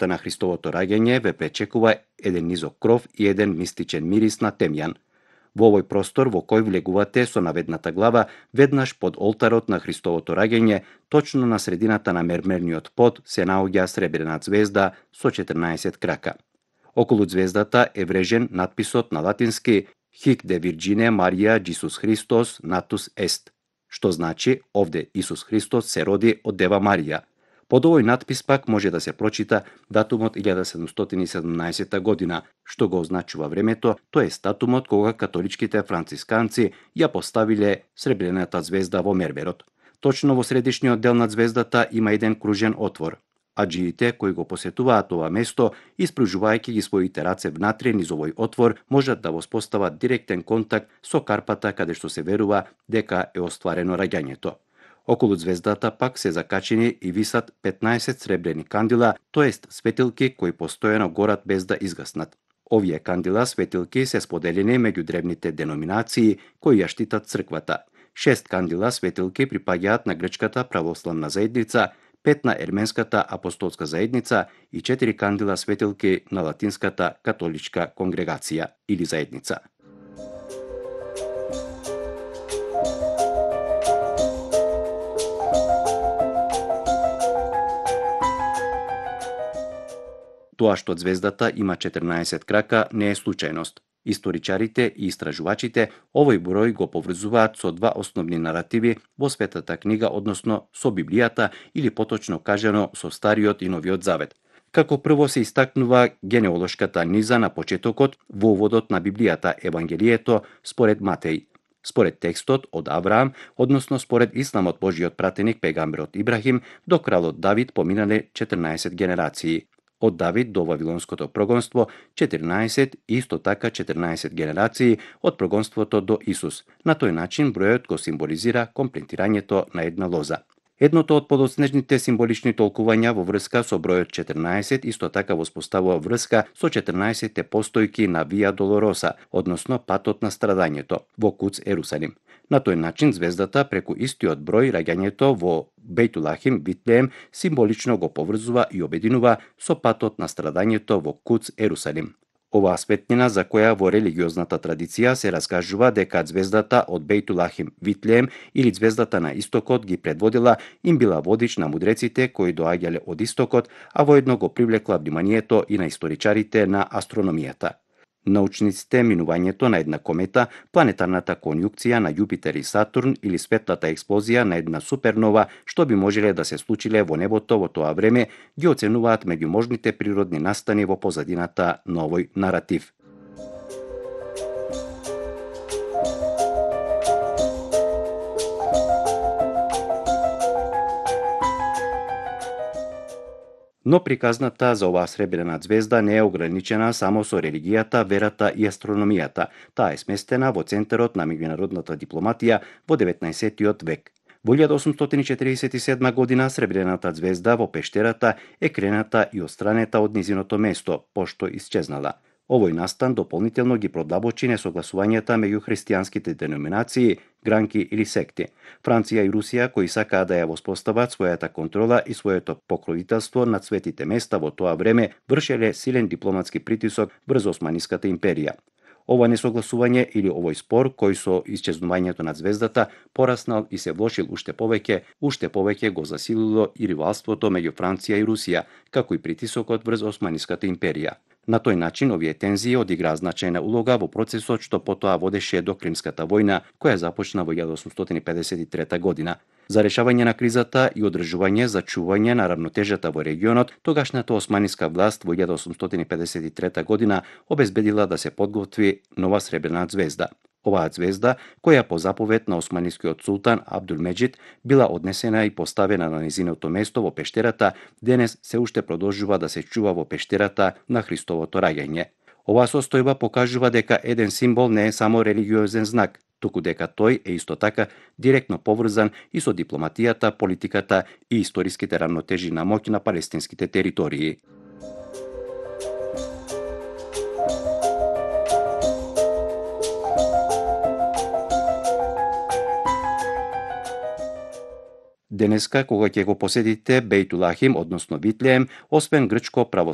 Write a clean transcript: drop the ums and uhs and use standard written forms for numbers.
на Христовото раѓање ве пречекува еден низок кров и еден мистичен мирис на темјан. Во овој простор во кој влегувате со наведната глава веднаш под олтарот на Христовото раѓање, точно на средината на мермерниот под се наоѓа сребрена ѕвезда со 14 крака. Околу ѕвездата е врежен надписот на латински Hic de Virgine Maria Jesus Christos natus est, што значи овде Исус Христос се роди од Дева Марија. Под овој надпис пак може да се прочита датумот 1717 година, што го означува времето, тоест датумот кога католичките францисканци ја поставиле сребрената ѕвезда во мермерот. Точно во средишниот дел на ѕвездата има еден кружен отвор. Аџиите кои го посетуваат ова место, испружувајќи ги своите раце внатре низ овој отвор, можат да воспостават директен контакт со карпата каде што се верува дека е остварено раѓањето. Околу ѕвездата пак се закачени и висат 15 сребрени кандила, тоест светилки кои постојано горат без да изгаснат. Овие кандила светилки се споделени меѓу древните деноминации кои ја штитат црквата. 6 кандила светилки припаѓаат на грчката православна заедница, 5 на ерменската апостолска заедница и 4 кандила светилки на латинската католичка конгрегација или заедница. Тоа што ѕвездата има 14 крака не е случајност. Историчарите и истражувачите овој број го поврзуваат со два основни наративи во Светата книга, односно со Библијата или поточно кажано со Стариот и Новиот Завет. Како прво се истакнува генеолошката низа на почетокот во уводот на Библијата, Евангелието според Матеј. Според текстот од Авраам, односно според исламот, Божиот пратеник пегамберот Ибрахим до кралот Давид поминале 14 генерации. Од Давид до Вавилонското прогонство 14 и исто така 14 генерации од прогонството до Исус. На тој начин бројот го символизира комплетирањето на една лоза. Едното од подоцнежните символични толкувања во врска со бројот 14 исто така воспоставува врска со 14 постојки на Вија Долороса, односно патот на страдањето, во Куц Ерусалим. На тој начин звездата преку истиот број раѓањето во Бејтулахим, Витлеем, символично го поврзува и обединува со патот на страдањето во Куц Ерусалим. Оваа светлина за која во религиозната традиција се раскажува дека звездата од Бејтулахим, Витлеем или звездата на истокот ги предводила, им била водич на мудреците кои доаѓале од истокот, а воедно го привлекла вниманието и на историчарите на астрономијата. Научниците минувањето на една комета, планетарната конјукција на Јупитер и Сатурн или светлата експлозија на една супернова што би можеле да се случиле во небото во тоа време, ги оценуваат меѓу можните природни настани во позадината на овој наратив. Но приказната за оваа сребрена ѕвезда не е ограничена само со религијата, верата и астрономијата. Таа е сместена во центарот на меѓународната дипломатија во 19. век. Во 1847 година сребрената ѕвезда во пештерата е крената и отстранета од низиното место, пошто исчезнала. Овој настан дополнително ги продлабочи несогласувањата меѓу христијанските деноминации, гранки или секти. Франција и Русија, кои сакаа да ја воспостават својата контрола и своето покровителство над светите места во тоа време, вршеле силен дипломатски притисок врз Османиската империја. Ова несогласување или овој спор, кој со исчезнувањето на ѕвездата пораснал и се влошил уште повеќе го засилило и ривалството меѓу Франција и Русија, како и притисокот врз Османиската империја. На тој начин овие тензии одиграа значајна улога во процесот што потоа водеше до Кримската војна, која започна во 1853 година. За решавање на кризата и одржување за чување на равнотежата во регионот, тогашната османиска власт во 1853 година обезбедила да се подготви нова сребрена ѕвезда. Оваа ѕвезда, која по заповед на османискиот султан Абдулмеџид била однесена и поставена на незиното место во пештерата, денес се уште продолжува да се чува во пештерата на Христовото раѓање. Оваа состојба покажува дека еден символ не е само религиозен знак, туку дека тој е исто така директно поврзан и со дипломатијата, политиката и историските рамнотежи на моќ на палестинските територии. Денеска, кога ќе го посетите Бејтулахим, односно Витлеем, освен грчко православен